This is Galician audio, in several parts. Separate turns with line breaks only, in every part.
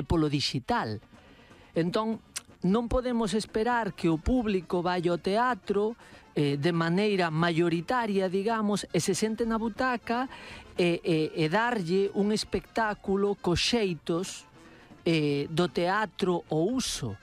polo digital. Entón, non podemos esperar que o público vai ao teatro de maneira mayoritaria, digamos, e se sente na butaca e darlle un espectáculo cos xeitos do teatro o uso.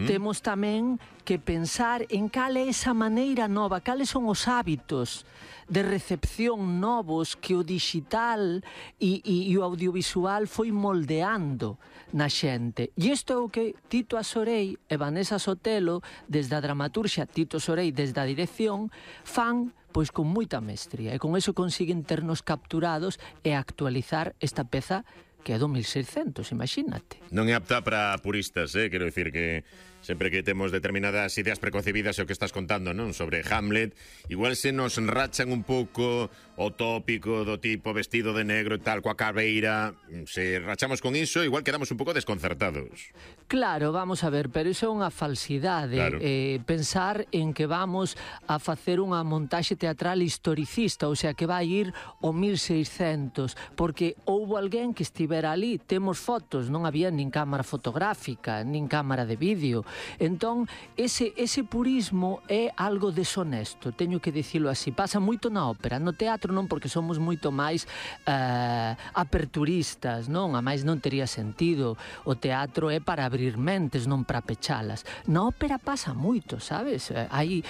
Temos tamén que pensar en cal é esa maneira nova, cales son os hábitos de recepción novos que o digital e o audiovisual foi moldeando na xente. E isto é o que Tito Asorei e Vanessa Sotelo, desde a dramaturxia, Tito Asorei desde a dirección, fan pois con moita mestría, e con eso consiguen ternos capturados e actualizar esta peza que é do 1600, imagínate.
Non é apta para puristas, quero dicir que sempre que temos determinadas ideas preconcebidas o que estás contando, non? Sobre Hamlet, igual se nos rachan un pouco o tópico do tipo vestido de negro e tal, coa cabeira, se rachamos con iso, igual quedamos un pouco desconcertados.
Claro, vamos a ver, pero iso é unha falsidade.
Claro.
Pensar en que vamos a facer unha montaxe teatral historicista, ou sea, que vai ir ao 1600, porque houbo alguén que estivera ali, temos fotos, non había nin cámara fotográfica, nin cámara de vídeo. Entón, ese purismo é algo deshonesto, teño que dicilo así. Pasa moito na ópera, no teatro non, porque somos moito máis aperturistas, non? A máis non tería sentido. O teatro é para abrir mentes, non para pechalas. Na ópera pasa moito, sabes? Aí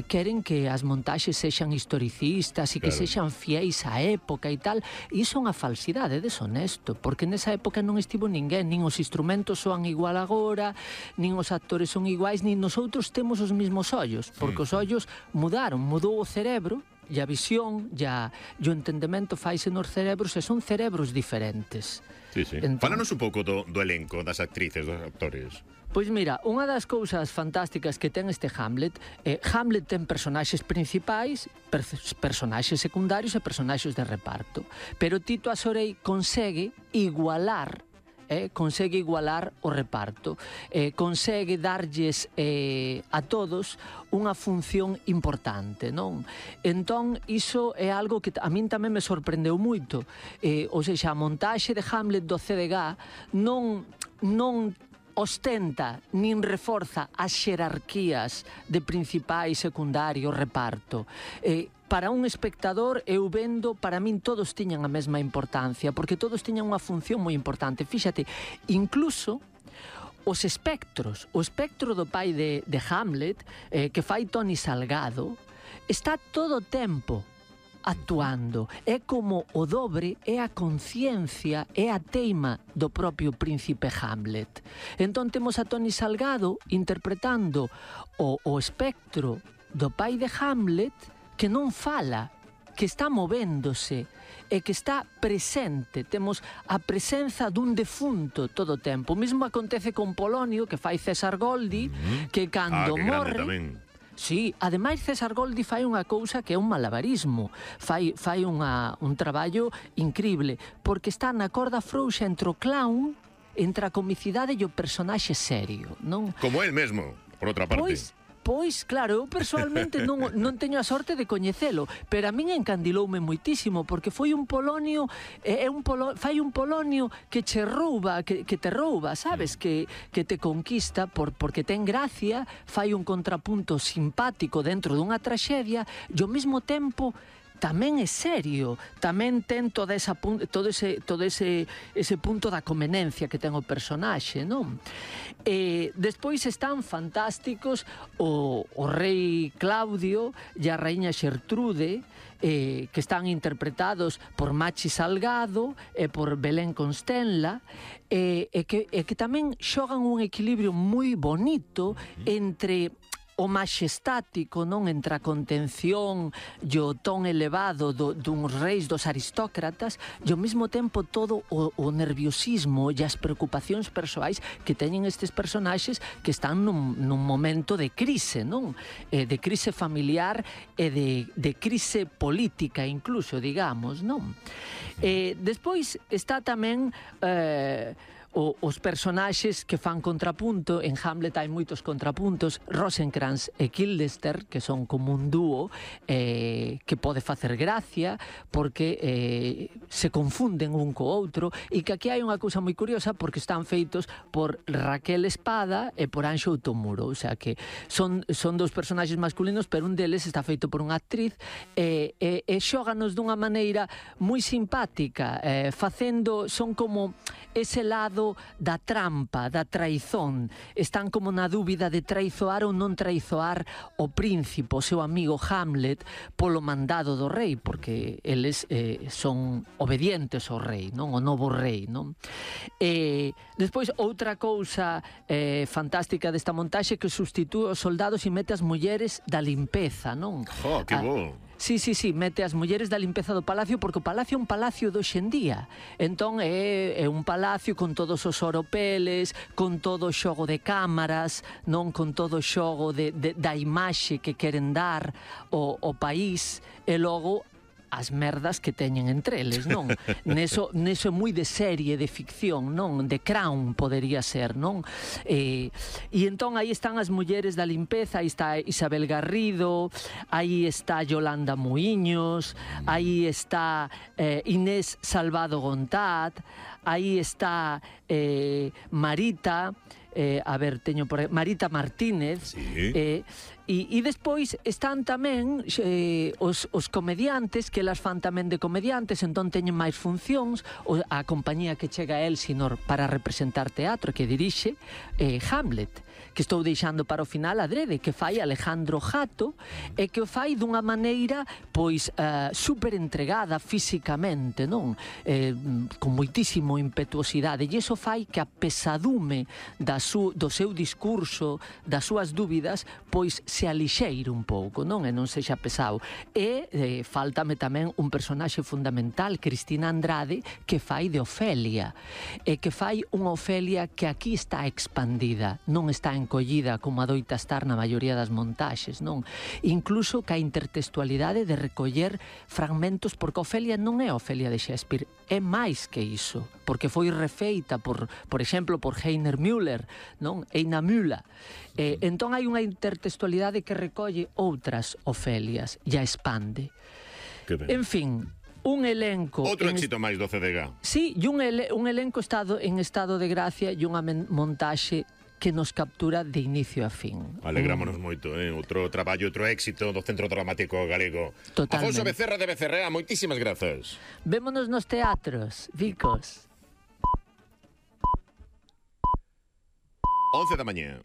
queren que as montaxes sexan historicistas e que sexan fiéis á época e tal. E iso é unha falsidade, é deshonesto, porque nesa época non estivo ninguén, nin os instrumentos soan igual agora, nin os actores son iguais, nin nosotros temos os mesmos ollos, porque os ollos mudaron, mudou o cerebro, e a visión, e o entendemento faise nos cerebros, e son cerebros diferentes.
Entón, fálanos un pouco do elenco, das actrices, dos actores.
Pois mira, unha das cousas fantásticas que ten este Hamlet, Hamlet ten personaxes principais, personaxes secundarios e personaxes de reparto, pero Tito Asorei consegue igualar o reparto, consegue darlles a todos unha función importante, non? Entón, iso é algo que a min tamén me sorprendeu moito. Ou seja, a montaxe de Hamlet do CDG non ostenta nin reforza as xerarquías de principal e secundario reparto. Para un espectador, eu vendo, para min todos tiñan a mesma importancia, porque todos tiñan unha función moi importante. Fíxate, incluso os espectros, o espectro do pai de Hamlet, que fai Toni Salgado, está todo o tempo actuando. É como o dobre, é a conciencia, é a teima do propio príncipe Hamlet. Entón temos a Toni Salgado interpretando o espectro do pai de Hamlet, que non fala, que está movéndose e que está presente. Temos a presenza dun defunto todo o tempo. O mesmo acontece con Polonio, que fai César Goldi, que cando morre... Sí, ademais César Goldi fai unha cousa que é un malabarismo, fai un traballo increíble, porque está na corda frouxa entre o clown, entre a comicidade e o personaxe serio, non?
Como el mesmo, por outra parte.
Pois, claro, eu persoalmente non teño a sorte de coñecelo, pero a min encandiloume moitísimo, porque foi un Polonio, fai un Polonio que che rouba, que te rouba, sabes? Que te conquista porque ten gracia, fai un contrapunto simpático dentro dunha traxedia, e ao mesmo tempo tamén é serio, tamén ten todo ese punto da conveniencia que ten o personaxe, non? Despois están fantásticos o rei Claudio e a raíña Xertrude, que están interpretados por Machi Salgado e por Belén Constenla, e que tamén xogan un equilibrio moi bonito entre o maxestático, non, entre a contención e o ton elevado duns reis, dos aristócratas, e ao mesmo tempo todo o nerviosismo e as preocupacións persoais que teñen estes personaxes que están nun momento de crise, non? De crise familiar e de crise política incluso, digamos, non? Despois está tamén os personaxes que fan contrapunto. En Hamlet hai moitos contrapuntos. Rosencrantz e Guildenstern, que son como un dúo que pode facer gracia porque se confunden un co outro, e que aquí hai unha cousa moi curiosa porque están feitos por Raquel Espada e por Anxo Otomuro, o sea que son dous personaxes masculinos, pero un deles está feito por unha actriz e xóganos dunha maneira moi simpática, son como ese lado da trampa, da traizón. Están como na dúbida de traizoar ou non traizoar o príncipe, o seu amigo Hamlet, polo mandado do rei, porque eles son obedientes ao rei, non? O novo rei, non? Despois, outra cousa fantástica desta montaxe que sustitúe os soldados e mete as mulleres da limpeza, non?
¡Jo, que bo!
Sí, mete as mulleres da limpeza do palacio, porque o palacio é un palacio de hoxendía. Entón é un palacio con todos os oropeles, con todo o xogo de cámaras, non, con todo o xogo da imaxe que queren dar ao país, e logo as merdas que teñen entre eles, non? Neso é moi de serie de ficción, non? De Crown podería ser, non? E entón aí están as mulleres da limpeza, aí está Isabel Garrido, aí está Yolanda Muiños, aí está Inés Salvado Gontat, aí está Marita, teño por aí, Marita Martínez,
sí.
E despois están tamén os comediantes, que elas fan tamén de comediantes, entón teñen máis funcións. A compañía que chega a Elsinor para representar teatro, que dirixe Hamlet, que estou deixando para o final adrede, que fai Alejandro Jato, e que o fai dunha maneira pois super entregada físicamente, non? Con moitísimo impetuosidade, e iso fai que a pesadume do seu discurso, das súas dúbidas, pois se alixeire un pouco, non? E non sexa pesado. E faltame tamén un personaxe fundamental, Cristina Andrade, que fai de Ofelia, e que fai unha Ofelia que aquí está expandida, non está encollida como adoita estar na maioría das montaxes, non? Incluso ca intertextualidade de recoller fragmentos, porque Ofelia non é Ofelia de Shakespeare, é máis que iso, porque foi refeita por exemplo, por Heiner Müller, non? Heina Müller. Entón hai unha intertextualidade que recolle outras Ofelias e a expande. En fin, un elenco...
Outro éxito máis do CDG.
Sí, e un elenco en estado de gracia e unha montaxe que nos captura de inicio a fin.
Alegrámonos moito, outro traballo, outro éxito do Centro Dramático Galego.
Totalmente.
Afonso Becerra de Becerrea, moitísimas grazas.
Vémonos nos teatros, Vicos.
11 da mañá.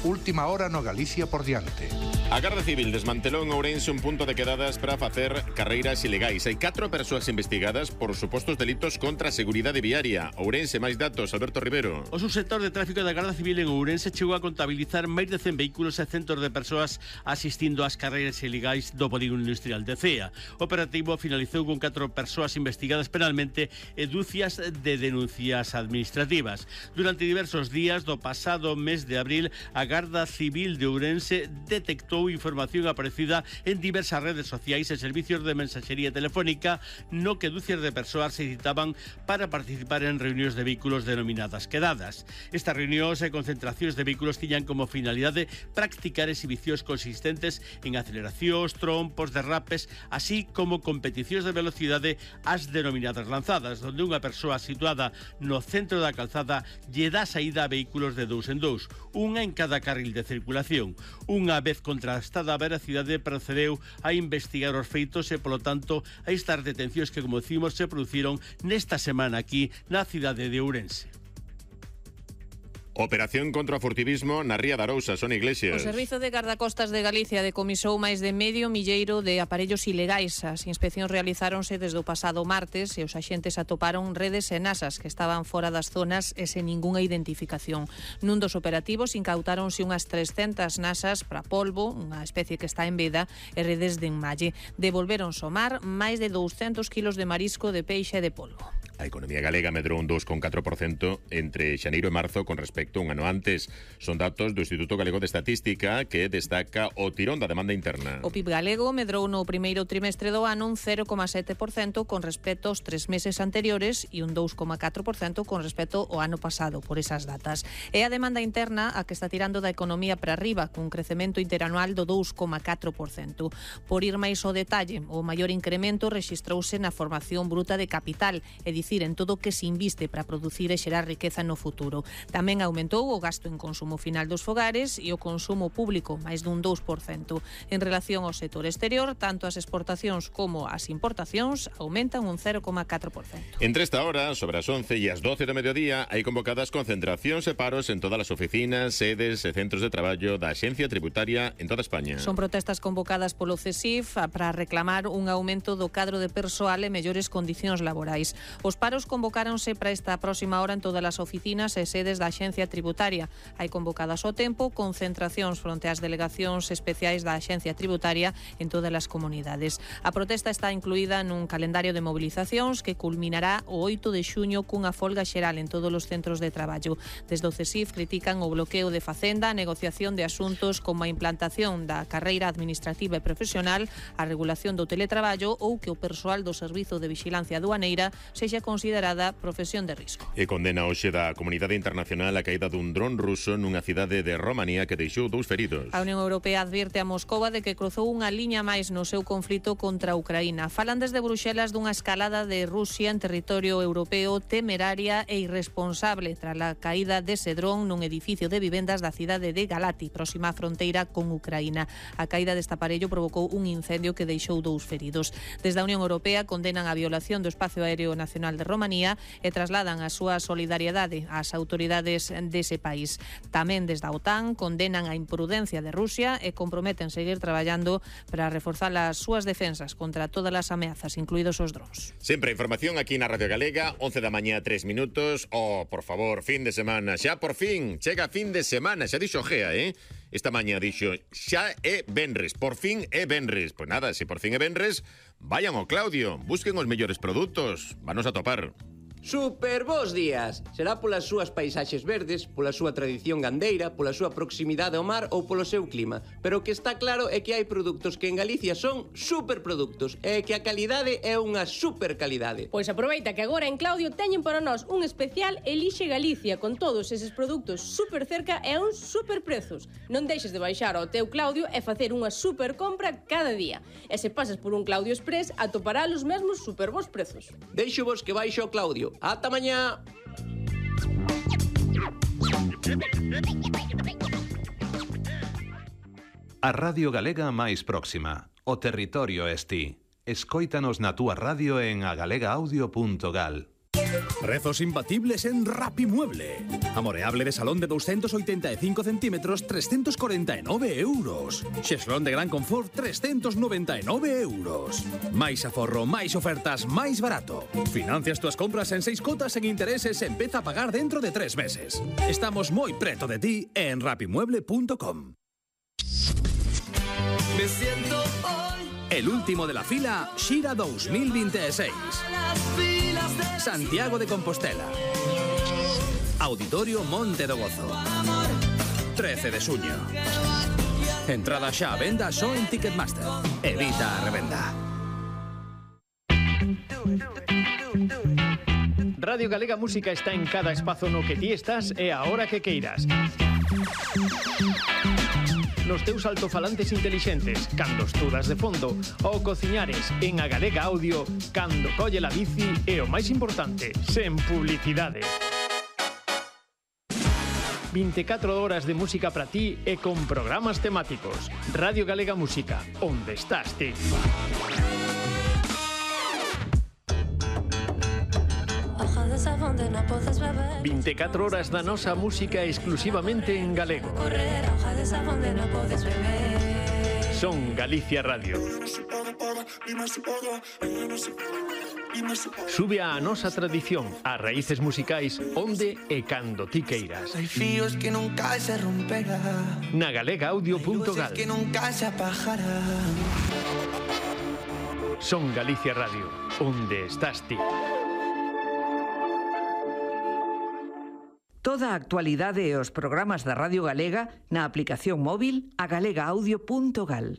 Última hora no Galicia por diante.
A Garda Civil desmantelou en Ourense un punto de quedadas para facer carreiras ilegais. Hai 4 persoas investigadas por supostos delitos contra a seguridade viaria. Ourense, máis datos, Alberto Rivero.
O subsector de tráfico da Garda Civil en Ourense chegou a contabilizar máis de 100 vehículos e centos de persoas asistindo ás carreiras ilegais do polígono industrial de Cea. O operativo finalizou con 4 persoas investigadas penalmente e dúcias de denuncias administrativas. Durante diversos días do pasado mes de abril, a Garda Civil de Ourense detectou información aparecida en diversas redes sociais e servicios de mensaxería telefónica no que dúcias de persoas se citaban para participar en reunións de vehículos denominadas quedadas. Estas reunións e concentracións de vehículos tiñan como finalidade practicar exhibicións consistentes en aceleracións, trompos, derrapes, así como competicións de velocidade as denominadas lanzadas, onde unha persoa situada no centro da calzada lle dá saída a vehículos de 2 en 2, unha en cada carril de circulación. Unha vez contrastada a veracidade, procedeu a investigar os feitos e, polo tanto, a estas detencións que, como decimos, se produciron nesta semana aquí na cidade de Ourense.
Operación contra o furtivismo na Ría de Arousa, Sonia Iglesias.
O Servizo de Gardacostas de Galicia decomisou máis de medio milleiro de aparellos ilegais. As inspeccións realizáronse desde o pasado martes e os axentes atoparon redes e nasas que estaban fora das zonas e sen ningunha identificación. Nun dos operativos incautáronse unhas 300 nasas para polvo, unha especie que está en veda, e redes de enmalle. Devolveron ao mar máis de 200 kilos de marisco, de peixe e de polvo.
A economía galega medrou un 2,4% entre xaneiro e marzo con respecto a un ano antes. Son datos do Instituto Galego de Estatística que destaca o tirón da demanda interna.
O PIB galego medrou no primeiro trimestre do ano un 0,7% con respecto aos 3 meses anteriores e un 2,4% con respecto ao ano pasado por esas datas. É a demanda interna a que está tirando da economía para arriba, cun crecemento interanual do 2,4%. Por ir máis ao detalle, o maior incremento rexistrouse na formación bruta de capital, é dicir, en todo o que se inviste para producir e xerar riqueza no futuro. Tamén aumentou o gasto en consumo final dos fogares e o consumo público, máis dun 2%. En relación ao sector exterior, tanto as exportacións como as importacións aumentan un 0,4%.
Entre esta hora, sobre as 11 e as 12 do mediodía, hai convocadas concentracións e paros en todas as oficinas, sedes e centros de traballo da Axencia Tributaria en toda España.
Son protestas convocadas polo CESIF para reclamar un aumento do cadro de persoal e mellores condicións laborais. Os paros convocáronse para esta próxima hora en todas as oficinas e sedes da Axencia Tributaria. Hai convocadas ao tempo concentracións fronte ás delegacións especiais da Axencia Tributaria en todas as comunidades. A protesta está incluída nun calendario de movilizacións que culminará o 8 de xuño cunha folga xeral en todos os centros de traballo. Desde o CESIF critican o bloqueo de Facenda, a negociación de asuntos como a implantación da carreira administrativa e profesional, a regulación do teletraballo ou que o persoal do Servizo de Vixilancia Aduaneira sexa considerada profesión de risco.
E condena hoxe da comunidade internacional a caída dun dron ruso nunha cidade de Romanía que deixou 2 feridos.
A Unión Europea advirte a Moscova de que cruzou unha liña máis no seu conflito contra a Ucraína. Falan desde Bruxelas dunha escalada de Rusia en territorio europeo temeraria e irresponsable tras a caída dese dron nun edificio de vivendas da cidade de Galati, próxima á fronteira con Ucraína. A caída deste aparello provocou un incendio que deixou 2 feridos. Desde a Unión Europea condenan a violación do espacio aéreo nacional de Romanía e trasladan a súa solidariedade ás autoridades dese país. Tamén desde a OTAN condenan a imprudencia de Rusia e comprometen seguir traballando para reforzar as súas defensas contra todas as ameazas, incluídos os drons.
Sempre a información aquí na Radio Galega, 11 da mañá, 3 minutos. Por favor, fin de semana. Xa por fin, chega fin de semana. Xa dixo Gea, Esta mañá dixo, xa é venres, por fin é venres. Pois nada, se por fin é venres, vayan ao Claudio, busquen os mellores produtos, vanos a topar.
Super bons días! Será polas súas paisaxes verdes, pola súa tradición gandeira, pola súa proximidade ao mar ou polo seu clima. Pero o que está claro é que hai produtos que en Galicia son superproductos e que a calidade é unha super calidade.
Pois aproveita que agora en Claudio teñen para nós un especial Elixe Galicia con todos eses produtos super cerca e a uns super prezos. Non deixes de baixar ao teu Claudio e facer unha super compra cada día. E se pasas por un Claudio Express atopará os mesmos super bons prezos.
Deixo vos que baixo ao Claudio. Ata mañá!
A Radio Galega máis próxima. O territorio es ti. Escóitanos na túa radio en agalegaudio.gal.
Prezos imbatibles en Rapimueble. Amoreable de salón de 285 centímetros, 349 euros. Xeslón de gran confort, 399 euros. Máis aforro, máis ofertas, máis barato. Financias túas compras en 6 cotas en intereses e empeza a pagar dentro de 3 meses. Estamos moi preto de ti en rapimueble.com.
Me siento hoy
El último de la fila, Xira 2026. Santiago de Compostela. Auditorio Monte do Gozo. 13 de xuño. Entrada xa a venda só en Ticketmaster. Evita a revenda.
Radio Galega Música está en cada espazo no que ti estás e a hora que queiras. Nos teus altofalantes intelixentes, cando estudas de fondo, ou cociñares en a Galega Audio, cando colle la bici e o máis importante, sen publicidade. 24 horas de música para ti e con programas temáticos. Radio Galega Música, onde estás ti. 24 horas da nosa música exclusivamente en galego. Son Galicia Radio. Sube a nosa tradición, a raíces musicais, onde e cando ti queiras.
Hai fíos que nunca se romperán,
na galegaudio.gal.
que nunca se apagarán.
Son Galicia Radio, onde estás ti.
Toda a actualidade e os programas da Radio Galega na aplicación móvil a galegaudio.gal.